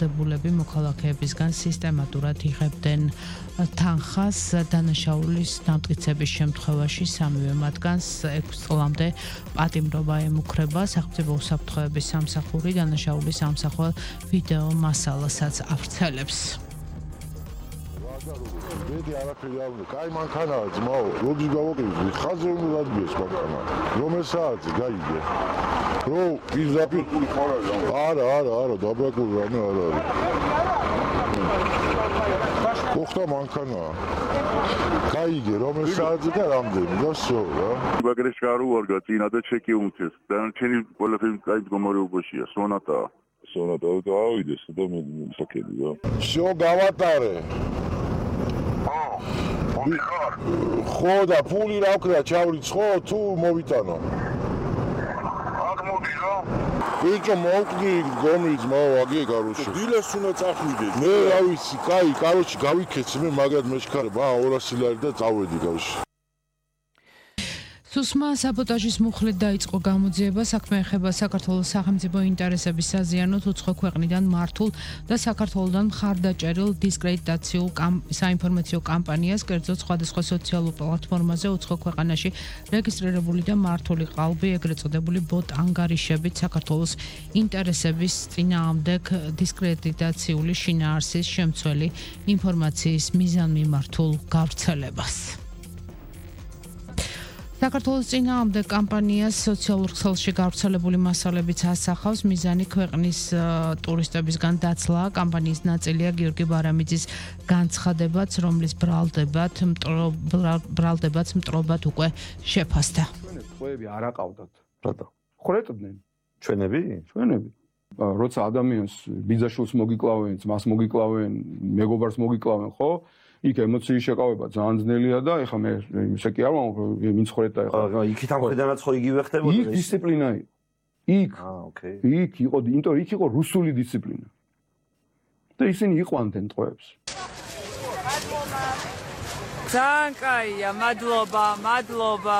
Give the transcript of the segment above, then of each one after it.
დაჯილდოდებულები მოქალაქეებისგან სისტემატურად იღებდნენ თანხას დანაშაულის დამტკიცების შემთხვევაში სამივე მათგანს 6 წლამდე პატიმრობა ემუქრება. სახელმწიფო უსაფრთხოების სამსახური დანაშაულის ამსახველ ვიდეო მასალასაც ავრცელებს. ბედი არაფერი არ უნდა. კაი მანქანაა ძმაო. როდის გავაკეთე? ხაზზე უნდა დადგეს მანქანა. რომელ საათზე გაიგე? რო პირდაპირ არა, დაბრაკული რამე არ არის. ოხტა მანქანაა. გაიგე, რომელ საათზე და რამდენი და всё რა. ბაგრეში გაუვარგა წინა და ჩეკი უმცეს. დანარჩენი ყველაფერი კაი მდგომარეობაშია, სონატაა. სონატა დავიდეს და მე საკედი რა. всё გავატარე. ხო და ფული რა ვქნა ჩავრიცხო თუ მოვიტანო? აქ მოდი რა. ბიჭო მოვკდი გომის მოვაგი კაროჩი. დილას უნდა წახვიდე. მე რა ვიცი, კაი, კაროჩი გავიქეცი მე მაგრად მეშქარება 200 ლარი და წავედი გავში. სუსმა საბოტაჟის მუხლით დაიწყო გამოძიება. საქმე ეხება საქართველოს სახელმწიფო ინტერესების საზიანოდ უცხო ქვეყნიდან მართულ და საქართველოდან მხარდაჭერილ დისკრედიტაციულ საინფორმაციო კამპანიას, კერძოდ სხვადასხვა სოციალურ პლატფორმაზე უცხო ქვეყანაში რეგისტრირებული და მართული ყალბი, ეგრეთ წოდებული ბოტ ანგარიშებით საქართველოს ინტერესების წინააღმდეგ დისკრედიტაციული შინაარსის შემცველი ინფორმაციის მიზანმიმართულ გავრცელებას. საქართველოს წინააღმდეგ კამპანიას სოციალურ ქსელში გავრცელებული მასალებიც ასახავს. მიზანი ქვეყნის ტურისტებისგან დაცლაა. კამპანიის ნაწილია გიორგი ბარამიძის განცხადებაც, რომლის ბრალდებაც მტრობად უკვე შეფასდა. ტყვეები არ აყავდათ. რატო? ხრეტდნენ. ჩვენები? როცა ადამიანს ბიძაშვილს მოგიკლავენ, მას მოგიკლავენ, მეგობარს მოგიკლავენ, ხო? იქ ემოციის შეკავება ძალიან ძნელია და ეხლა მე ისე კი არ ვამბობ, ვინც ხრეტდა ეხლა. იქით ამ ხედანაც ხო იგივე ხდებოდა? იქ დისციპლინა იყო. იქ იყო, იმიტომ იქ იყო რუსული დისციპლინა. და ისინი იყვანდნენ ტყვეებს. ძალიან კაია, მადლობა.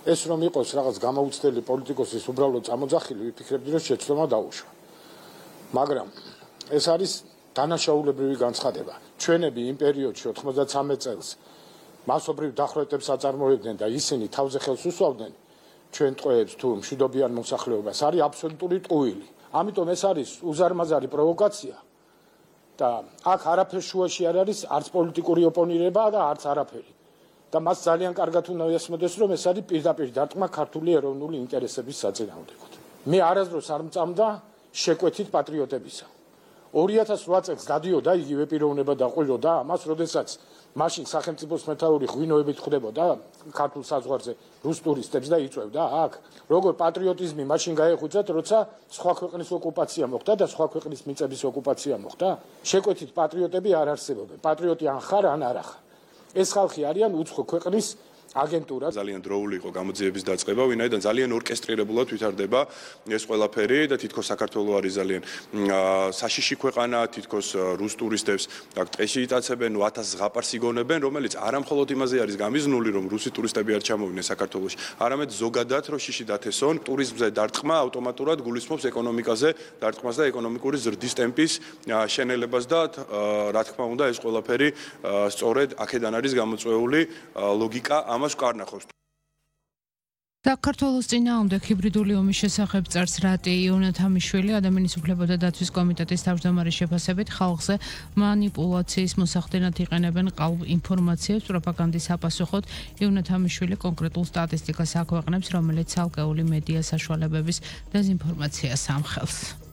ეს რომ იყოს რაღაც გამოუცდელი პოლიტიკოსის უბრალოდ წამოძახილი, ვიფიქრებდი რომ შეცდომა დაუშვა. მაგრამ ეს არის დანაშაულებრივი განცხადება. ჩვენები იმ პერიოდში 93 წელს მასობრივ დახვრეტებს აწარმოებდნენ და ისინი თავზე ხელს უსვავდნენ ჩვენ ტყვეებს თუ მშვიდობიან მოსახლეობას. არის აბსოლუტური ტყუილი. ამიტომ ეს არის უზარმაზარი პროვოკაცია და აქ არაფერ შუაში არ არის, არც პოლიტიკური ოპონირება და არც არაფერი. და მას ძალიან კარგად უნდა ესმოდეს, რომ ეს არის პირდაპირ დარტყმა ქართული ეროვნული ინტერესების საწინააღმდეგოდ. მე არასდროს არ მწამდა შეკვეთით პატრიოტებისა. 2008 წელს გადიოდა იგივე პიროვნება და ყვიროდა ამას, როდესაც მაშინ სახელმწიფოს მეთაური ღვინოებით ხვდებოდა ქართულ საზღვარზე რუს ტურისტებს და იწვევდა აქ. როგორ პატრიოტიზმი მაშინ გაეხვიძათ, როცა სხვა ქვეყნის ოკუპაცია მოხდა და სხვა ქვეყნის მიწების ოკუპაცია მოხდა? შეკვეთით პატრიოტები არ არსებობენ. პატრიოტი ან ხარ, ან არა ხარ. ეს ხალხი არიან უცხო ქვეყნის აგენტურა. ძალიან დროული იყო გამოძიების დაწყება, ვინაიდან ძალიან ორკესტრირებულად ვითარდება ეს ყველაფერი და თითქოს საქართველოს არის ძალიან საშიში ქვეყანა, თითქოს რუს ტურისტებს აქ ტყეში იტაცებენ, 1000 ზღაპარს იგონებენ, რომელიც არამხოლოდ იმაზე არის გამიზნული, რომ რუსი ტურისტები არ ჩამოვიდნენ საქართველოში, არამედ ზოგადად რომ შიში დათესონ, ტურიზმზე დარტყმა ავტომატურად გულისხმობს ეკონომიკაზე დარტყმას და ეკონომიკური ზრდის ტემპის შენელებას და რა თქმა უნდა ეს ყველაფერი სწორედ აქედან არის გამოწვეული ლოგიკა ამას კარნახობს. საქართველოს წინააღმდეგ ჰიბრიდული ომის შესახებ წერს რატი იონათამიშვილი, ადამიანის უფლებათა დაცვის კომიტეტის თავმჯდომარის შეფასებით, ხალხზე მანიპულაციის მოსახდენად იყენებენ ყალბ ინფორმაციებს პროპაგანდის საპასუხოდ. იონათამიშვილი კონკრეტულ სტატისტიკას აქვეყნებს, რომელიც ცალკეული მედია საშუალებების დეზინფორმაციას ამხელს.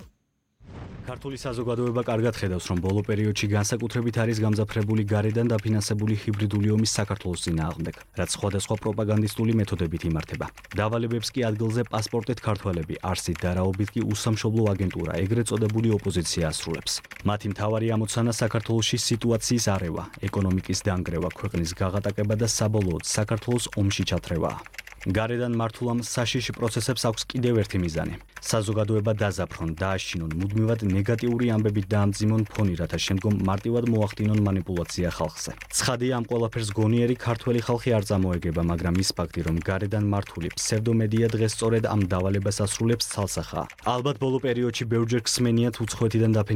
ქართული საზოგადოება კარგად ხედავს, რომ ბოლო პერიოდში განსაკუთრებით არის გამძაფრებული გარედან დაფინანსებული ჰიბრიდული ომის საქართველოს წინააღმდეგ, რაც სხვადასხვა პროპაგანდისტული მეთოდებით იმართება. დავალებებს კი ადგილზე პასპორტით ქართველები, არსით დარაობით კი უსამშობლო აგენტურა, ეგრეთ წოდებული ოპოზიცია ასრულებს. მათი მთავარი ამოცანა საქართველოში სიტუაციის არევა, ეკონომიკის დანგრევა, ქვეყნის გაღატაკება და საბოლოოდ საქართველოს ომში ჩათრევაა. გარედან მართულამ საშიში პროცესებს აქვს კიდევ ერთი მიზანი. საზოგადოება დაზაფრონ, დააშინონ, მუდმივად ნეგატიური ამბებით დაამძიმონ ფონი, რათა შემდგომ მარტივად მოახდინონ მანიპულაცია ხალხზე. ცხადია, ამ ყველაფერს გონიერი ქართველი ხალხი არ წამოეგება, მაგრამ ის ფაქტი, რომ გარედან მართული ფსევდომედია დღეს სწორედ ამ დავალებას ასრულებს, ცალსახაა. ალბათ ბოლო პერიოდში ბევრჯერ ხსმენიათ უცხოეთიდან დაფინანსებული